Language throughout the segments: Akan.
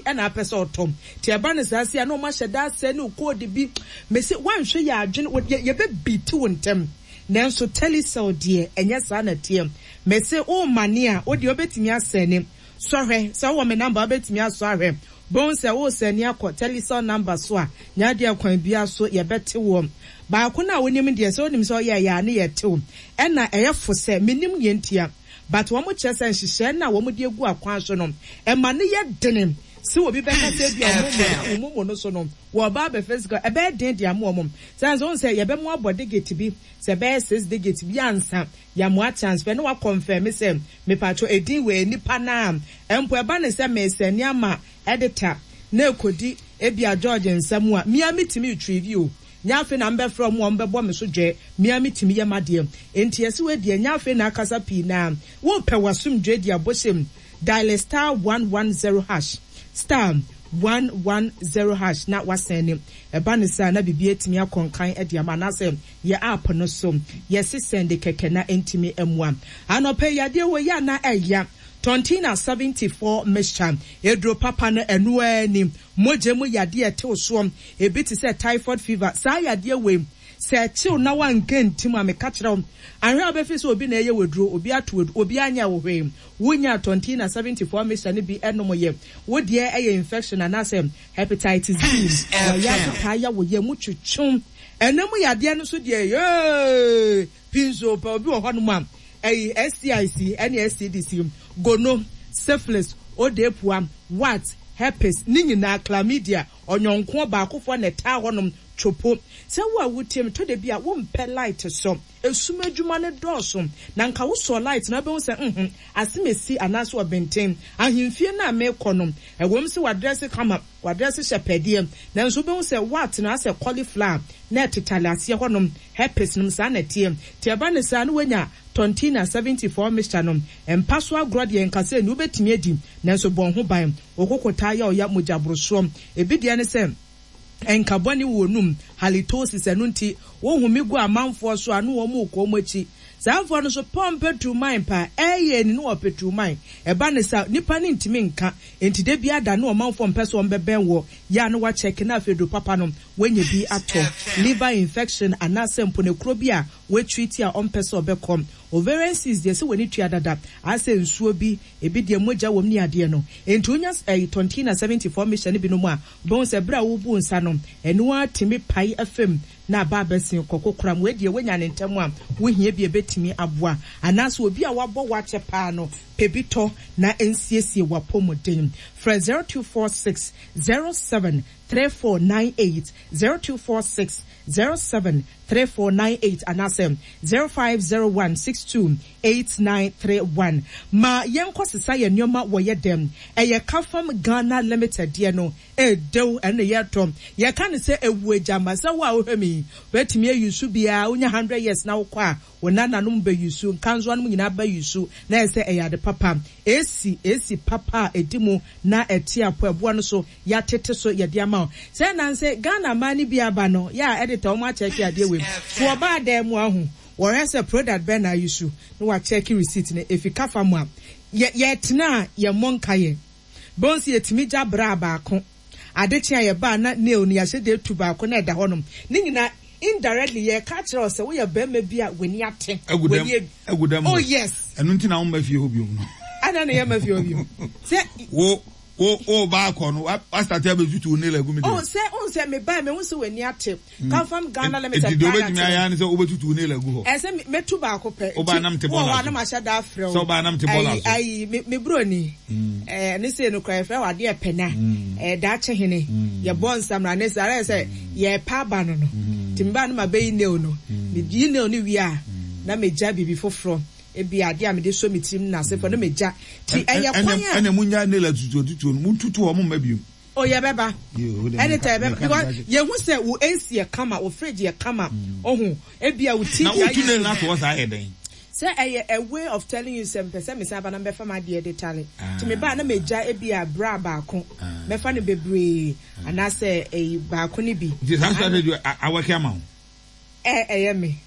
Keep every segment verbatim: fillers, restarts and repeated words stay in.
ɛna apɛ sɛ ɔtɔ. Nti ɛba no saa se a na ɔmo ahyɛ da asɛ ne code bi. Mese woanhwɛ yɛ adwene yɛbɛbi te wo ntɛm. Nanso Telecel deɛ, ɛnyɛ saa na teɛ. Mese wo mane a, wo deɛ wobɛtumi asɛne. Sɔhwɛ sɛ wowɔ me number, wobɛtumi asɔ ahwɛ. Bohu sɛ wo sɛne akɔ Telecel number so a, nya adeɛ kwan bia so yɛbɛte wɔ. Baako na wonim deɛ, sɛ wonim sɛ ɔyɛ ɛyɛ a ne yɛte wo. Ɛna ɛyɛ fo sɛ menim neɛ ntia. But wɔn kyerɛ sɛ nhyehyɛ na wɔn de egu akwan so no, ɛma ne yɛ dene. Sɛ obi bɛka sɛ bi a ɔmo mo no so no, wɔba abɛfɛ sika, ɛbɛyɛ den de ama wɔn. Sɛ nso sɛ yɛbɛmo abɔ digit bi, sɛ ɛbɛyɛ six digit bi ansa, yɛamoa transfer na wakɔnfɛm sɛ mepatro edin wɔ nipa naa. Mpo ɛba ne sɛ mesɛ nneɛma editor na ekodi ebi a George nsɛm a mia mitimi retrieve o. Nya afei na mbɛfrɛ ɔmo a ɔmbɛbɔ me so dwɛ, mia mitimi yɛ madeɛ. Enti yɛsi wɔ deɛ nya afei na akasa pii na wopɛ wasomdwe di abɔhyɛm. Dial star one one zero hash, star one one zero hash na wasɛne. Ɛba ne saa na bibi etimi akɔnkan ɛde ama anaasɛ yɛ app no so yɛsi send kɛkɛ na ntimi ɛmoa. Anɔpɛ yadeɛ wɔ yɛ ana ɛya Tontina seventy-four mixture eduro papa no ɛno ani mogya mu yadeɛ tew soɔ ebi te sɛ typhoid fever saa yadeɛ wei sɛ kyew na wanka ntim a meka kyerɛ wo ahwɛ a bɛfi sɛ obi na ɛyɛ waduro obi ato waduro obi anya wo hwee wonya Tontina seventy-four mixture no bi ɛnom yɛ wo deɛ ɛyɛ infection anaasɛ hepatitis B wɔyɛ ata ya wo yɛ mu twetwem ɛnam yadeɛ no so deɛ yee pinso pa obi wɔ hɔ nom a ɛyi S T I C ɛne S T D C gono syphilis odepua wat herpes ne nyinaa chlamydia ɔnyɔnko baakofo na ɛtaa hɔnom twopo sɛ wo a wotie to de bi a wompɛ light so esum adwuma ne dɔɔso na nka wo sɔ light na wobɛhu sɛ mhm asemesi anaasɛ ɔbɛnten ahemfie na mekɔ no ɛwom sɛ wadress kama wadress hyɛ pɛdeɛ nanso wobɛhu sɛ wat na asɛ cauliflower na ɛtetale aseɛ hɔnom herpes nom saa na ɛteɛ nti ɛba ne saa na woanya Tontina seventy-four mixture no mpa so agorɔ deɛ nkasa ni wobɛtumi adi nanso bɔn ho ban okokota yɛ ɔya mogya borosoɔ ebi deɛ ne sɛ enka bɔne wɔ num halitosis ɛno nti wohumi gu amanfoɔ so ano wɔn mu kɔ wɔn akyi saa mfoɔ no so pɔmpe tu man pa ɛyɛ ni no wɔpɛ tu man ɛba ne sa nipa ne ntumi nka enti de bi ada ne ɔmanfoɔ mpɛ so wɔn bɛbɛn wɔ ya no wakyɛke na afei do papa no wɔnyɛ bi atɔ liver infection anaasɛ mponekuro bi a wɔatwiti a ɔmpɛ sɛ ɔbɛkɔ ovarian cyst deɛ sɛ wɔni tua dada asɛ nsuo bi ebi deɛ mogya wɔm ne adeɛ no enti wonya ɛyi Tontina seventy-four mixture ne binom a bɔn sɛ bere a wobu nsa no ɛno atumi pae afam na aba abɛsen kɔkɔ koram wei deɛ wonya ne ntɛm a wohia bi ebetumi aboa anaasɛ obi a wabɔ wakyɛ paa no pɛ tɔ na nsiesie wapɔmuden frɛ zero two four six zero seven three four nine eight zero two four six zero seven three four nine eight anaasɛ zero five zero one six two eight nine three one. Ma yɛnkɔ sesa yɛ nneɛma wɔ yɛ dɛm ɛyɛ Kafam Ghana Limited deɛ no ɛdew ɛne yɛtɔ yɛka ne sɛ ewu agyama sɛ wo a wohwɛ mi wetumi ayi bia wonya hundred years na wokɔ a wo nananom bɛyi nkanso anom nyinaa bɛyi na ɛsɛ ɛyɛ ade papa esi esi papa edi mu na ɛte apɔ ɛboa no so yɛatete so yɛde ama wo sɛ nanse Ghana man ni bi aba no yɛ a editor wɔn akyɛke adeɛ wei so ɔbaa dan mu ahu wɔhwɛ sɛ product bɛn na ayi so na wakyɛke receipt no efi kafa mu a yɛ yɛtena a yɛmmɔ nka yɛ bonsi yɛtumi gya bra baako ade kye a yɛbaa na nail no yɛahyɛ de etu baako na ɛda hɔnom ne nyinaa indirectly yɛ ka kyerɛ sɛ woyɛ bɛrima bi a w'ani ate w'ani egu oh yes ɛno nti na wo mma fie hɔ biom no ada na yɛ mma fie hɔ biom sɛ wo wo wo ba akɔ no wa start abɛtutu nail agu mi de oh sɛ oh sɛ me ba me hu sɛ w'ani ate Kafam Ghana Limited product eti de obetumi ayɛ ne sɛ wobɛtutu nail agu hɔ ɛsɛ metu baako pɛ wo ba nam te bɔɔla so wo na mahyɛ da afrɛ wo sɛ wo ba nam te bɔɔla so ayi me me broni eh ne sɛ no kra yɛfrɛ wade ɛpɛ na eh daakye hene yɛ bɔ nsamra ne sɛ ara sɛ yɛ pa aba no no timba no ma bɛyi nail no me yi nail no wie a na megya bibi foforo ebi ade a mede so metirim na asefo no megya ti ɛyɛ kwan a ɛna munya nail atutu atutu no mututu hɔ mo mma biom. Oh yeah beba editor beba because yehu sɛ wo A C yɛ kama wo fridge yɛ kama ohu ebi a wo T V na wo tu nail na to sa yɛ den sɛ ɛyɛ a way of telling you sɛ mpɛ sɛ me san ba na mbɛfa ma de editale ti me ba na megya ebi a bra baako mɛfa no bebree anaasɛ ɛyi baako ne bi nti saa strategy awɔke ama wo ɛ ɛyɛ me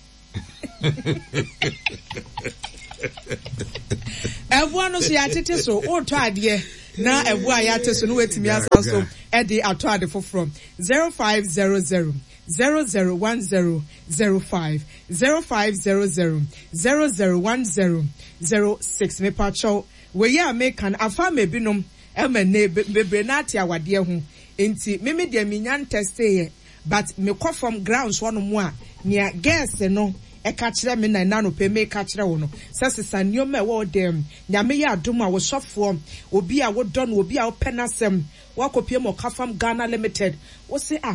ɛboa no so yɛatete so wotɔ adeɛ Na ɛbo a yɛate so no, woatumi asan so ɛde atɔ ade foforɔ. zero five zero zero zero zero one zero zero five, zero five zero zero zero zero one zero zero six. Mepakyɛw, wei a meka no afa ama ebinom ɛma ne bebree na ate awadeɛ ho. Nti mimi deɛ, minya ntɛsteeɛ, but mekɔ fam grounds hɔnom a, nea girls no ɛka kyerɛ me na ɛna no pɛ meka kyerɛ wo no sɛ sesa nneɛma a ɛwɔ wo dɛm. Nyame yɛ adom a, wosɔfoɔ, obi a wodɔ no, obi a wopɛ n'asɛm, wakɔpie ma Ɔka Fam Ghana Limited, wo se a